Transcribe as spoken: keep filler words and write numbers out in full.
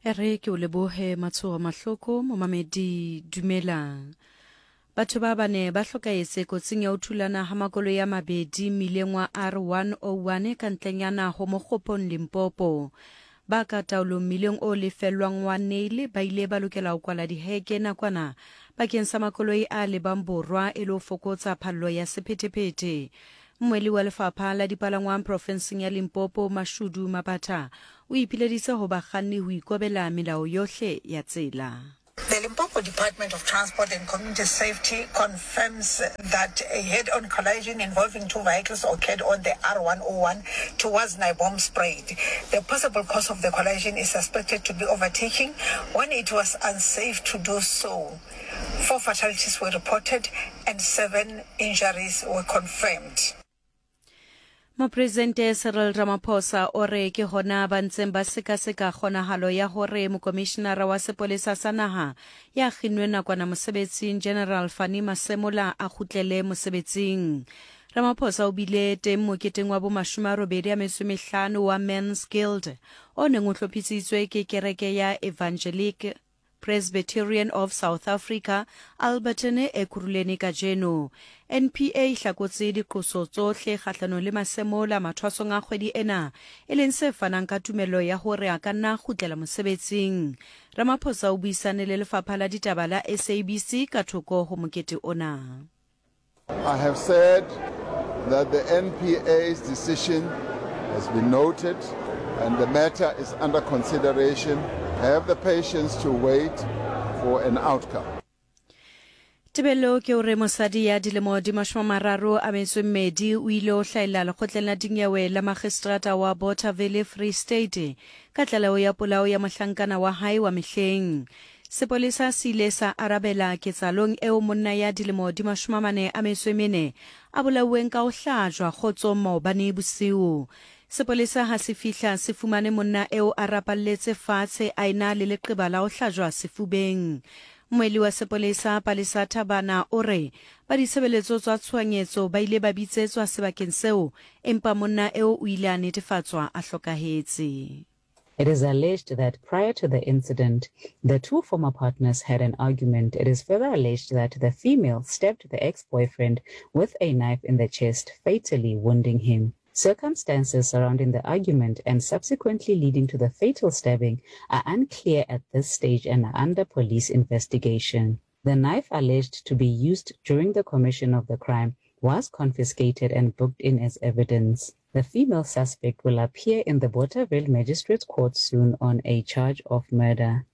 E re ke o lebohe Matshogo Mahloko, momamedi dumelang. Batho ba bane ba hlokahetse kotsing ya ho thulana ha makoloi a mabedi mmileng wa R one oh one ka ntlenyana ho Mokgopong Limpopo. Ba ka taolong mmileng o lefellwang wa Neil ba ile ba lokela ho kwala diheke nakwana bakeng sa makoloi a lebang borwa e le ho fokotsa phallo ya sephethephethe. Mmuelli wa lefapha la dipalangwang profenseng ya Limpopo Mashudu Mabatha o ipileditse ho bakganni ho ikobela melao yohle ya tsela. The Limpopo Department of Transport and Community Safety confirms that a head-on collision involving two vehicles occurred on the R one oh one towards Naboomspruit. The possible cause of the collision is suspected to be overtaking when it was unsafe to do so. Four fatalities were reported and seven injuries were confirmed. Mopresidente Cyril Ramaphosa o re ke hona ba ntseng ba sekaseka kgonahalo ya hore mokomishinara wa sepolesa sa naha ya kginnweng nakwana mosebetsing General Fannie Masemola a kgutlele mosebetsing. Ramaphosa o bile teng moketeng wa bomashome a robedi a metso e mehlano wa Men's Guild o neng o hlophisitswe ke kereke ya Evangelic Presbyterian of South Africa, Alberton Ekurhuleni kajeno. N P A e hlakotse diqoso tsohle kgahlanong le Masemola mathwasong a kgwedi ena, e leng se fanang ka tumello ya hore a ka nna kgutlela mosebetsing. Ramaphosa o buisane le lefapha la ditaba la S A B C ka thoko ho mokete ona. I have said that the N P A's decision has been noted and the matter is under consideration. Have the patience to wait for an outcome. Tebello ke hore mosadi ya dilemo di mashome a mararo a metso e mmedi o ile ho hlahella lekgotleng la dinyewe la magistrata wa Bothaville Free State ka tlaleho ya polao ya mohlankana wa hae wa mehleng. Sepolesa se ile sa arabela ketsahalong eo monna ya dilemo di mashome a mane a metso e mene a bolauweng ka ho hlajwa kgotsong maobane bosiu. Sepolesa ha se fihla se fumane monna eo a rapalletse fatshe a ena le leqeba la ho hlajwa sefubeng. Mmuelli wa sepolesa Palesa Thabana o re ba ditshebeletso tsa tshohanyetso ba ile ba bitsetswa sebakeng seo, empa monna eo o ile a netefatswa a hlokahetse. It is alleged that prior to the incident, the two former partners had an argument. It is further alleged that the female stabbed the ex-boyfriend with a knife in the chest, fatally wounding him. Circumstances surrounding the argument and subsequently leading to the fatal stabbing are unclear at this stage and are under police investigation. The knife alleged to be used during the commission of the crime was confiscated and booked in as evidence. The female suspect will appear in the Bothaville Magistrates Court soon on a charge of murder.